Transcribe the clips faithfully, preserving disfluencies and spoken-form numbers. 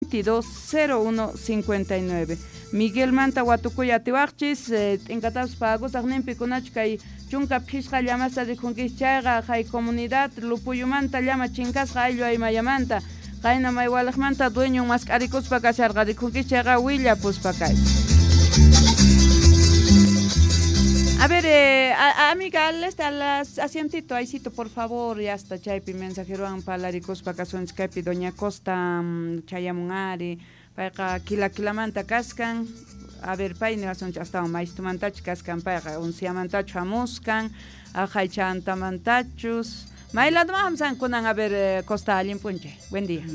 veintidós cero uno cincuenta y nueve. Miguel manta watukuy atiwaqchis, eh, t'inkatapis pagusaq ninpi kunachu kay chunka phisqa llamasta rikunkis chayqa hay comunidad Lupuyumanta llama chinkasqa ayllu aymayamanta qayna maywalaqmanta dueño mask'arikuspa kasharqa rikunkis chayqa willapuspa kay. A ver, eh, a, a, amiga, al este, al asientito, ahícito, por favor, ya hasta chaypi mensajeroan palarikuspa kasunchis kaypi doña Costa chayamunari, payqa kila kilamanta kaskan, a ver, pay niwasunchis astawan maistumantachus kaskan payqa, unciamantachu hamuskan, aqaychantamantachus, mayladuman hamsan kunan, a ver, eh, Costa, allin p'unchay, buen día.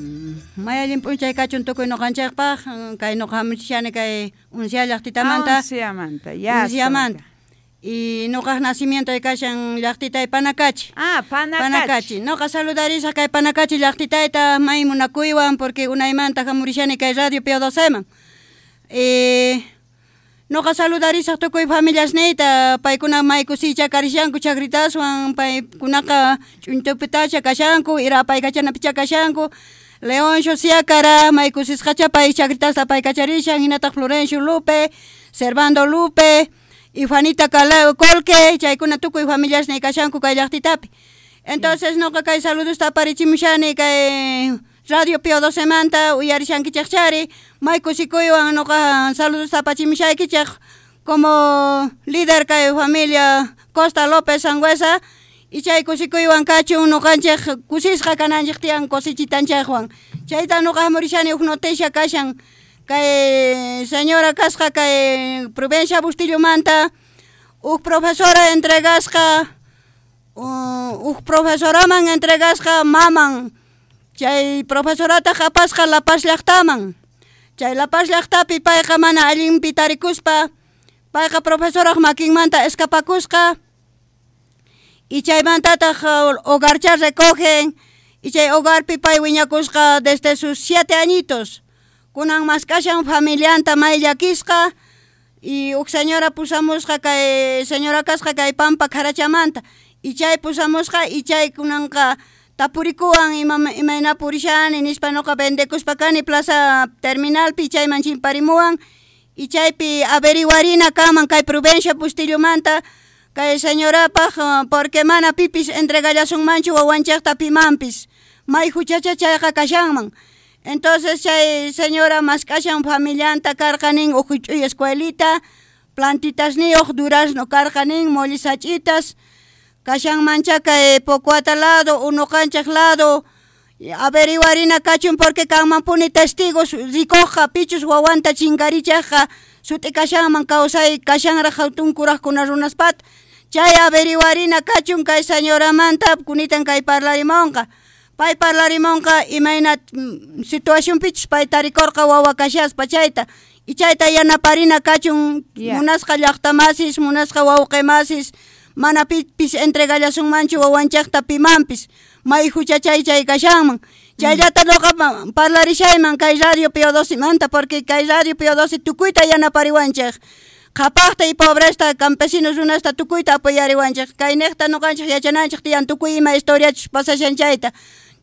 May allin p'unchay kachun tukuy noqanchikpaq, kay noqa hamuchishani kay uncia llaqtitamanta. Unciamanta, ya. Unciamanta. Y noqaj nacimiento kashan llaqtitay Panacachi. Ah, Panacachi. Panacachi. Noqa saludarisaq kay Panacachi llaqtitayta may munakuywan porque unaymanta hamurishani kay radio Pío doceman. Eh, noqa saludarisaq tukuy familiasniyta, paykuna may kusicha karishanku chakritaswan, paykunaqa ch'untupitacha kashanku, ira paykachanapicha kashanku. Leoncio Siácara, may kusisqacha pay chakritasta paykacharishan, hinataq Florencio Lupe, Servando Lupe, y Juanita Colque, chaykuna tukuy familias ni kashanku kay llaqtitapi. Entonces noqa kay saludosta aparichimushani kay Radio Pío docemanta uyarishankichaqchari, may kusikuywan noqa saludosta apachimushaykichaq como líder kay familia Costa López Sangüesa, y chay kusikuywan kachun noqanchik kusisqa kananchik tiyan cosechitanchiswan. Chayta noqa hamurishani huk noticia kashan kay señora kasqa kay Prudencia Bustillomanta huk profesora entregasqa, huk profesoraman entregasqa maman, chay profesorataq apasqa La Paz llaqtaman. Chay La Paz llaqtapi payqa mana allinpi tarikuspa, payqa profesoraq makinmanta escapakusqa, y chaymantataq hogarcha recogen, y chay hogarpi pay wiñakusqa desde sus siete añitos. Kunan maskashan familianta may llakisqa, y huk señora pusamusqa kay señora kasqa kay Pampa Kharachamanta, y chay pusamusqa, y chay kunanqa tapurikuwan ima imayna purishani nispa noqa vendekuspa kani plaza terminalpi chayman chimparimuwan, y chaypi averiguarina kaman kay Prudencia Bustillomanta kay señorapaq, porque mana pipis entregallasunmanchu wawanchikta pimanpis, may huchacha chayqa kashanman. Entonces chay señora maskashan familianta karqa nin huk huch'uy escuelita, plantitasniyuq durazno karqa nin, molli sach'itas, kashanmancha kay Pocuata lado, unuqanchik lado, averiguarina kachun porque kanmanpuni testigos rikuqqa pichus wawanta chinkarichaqqa sut'i kashanman kawsay kashanraq hatun kuraqkuna runaspata. Chay averiguarina kachun kay señoramanta kunitan kay parlarimunqa. Pay parlarimunqa imayna situación pichus pay tarikurqa wawa kashaspa chayta. Y chayta yanaparina kachun Yeah. munasqa llaqtamasis, munasqa wawqimasis, mana pipis entregallasunmanchu wawanchikta pimanpis, may huchachay chay kashanman. Chayllata noqa parlarishayman kay Radio Pío docemanta porque kay Radio Pío doce tukuyta yanapariwanchik. Qhapaqta y pobresta campesinos runasta tukuyta apoyariwanchik. Kay niqta noqanchik yachananchik tiyan tukuy ima historiachus pasashan chayta.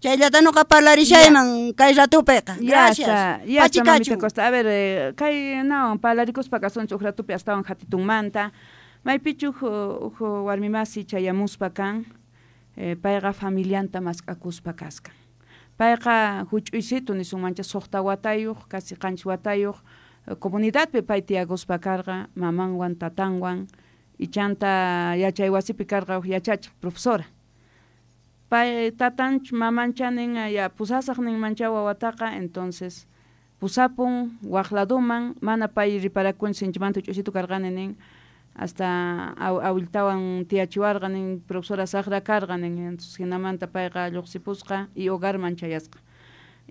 Chayllata noqa parlarishayman kay ratupiqa. Gracias. Ya está, mamita Pachikachun. Costa. A ver, eh, kay nawan parlarikuspa kasunchik huk ratupi astawan hatitunmanta. Maypichu huk warmimasi chayamuspa kan, eh, payqa familianta mask'akuspa kaskan. Payqa huch'uysitu nisunmancha suqta watayuq, casi qanchis watayuq, comunidadpi pay tiyakuspa karqa, mamanwan, tatanwan, ichanta yachay wasipi karqa huk yachachiq, profesora. Pay tatanch mamancha nin, ya pusasaq ninmancha wawataqa, entonces pusapun waq laduman, mana pay riparakun sinchimanta huch'uysitu karqani nin, hasta awiltawan tiyachiwarqa nin, profesora saqra karqa nin, entonces hinamanta payqa lluqsipusqa y hogarman chayasqa.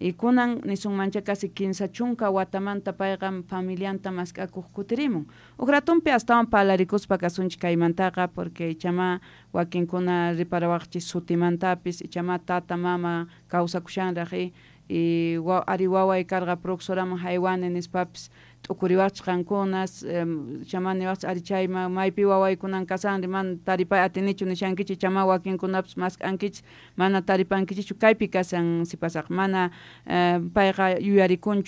Y kunan nisunmancha casi kinsa chunka watamanta payqa familianta mask'akuq kutirimun. Huk ratunpi astawan parlarikuspa kasunchik kaymantaqa porque ichama wakinkuna riparawaqchis sutimantapis, ichama tata mama kawsakushanraq y y ari waway karqa profesoraman haywani nispapis t'ukuriwaqchik qankunas, ichama niwaqchik ari chayman maypi wawaykunan kasanri mana taripay atinichu nishankichik, ichama wakinkunapis mask'ankichik mana taripankichikchu kaypi kashan sipasaqa mana payqa yuyarikunchu.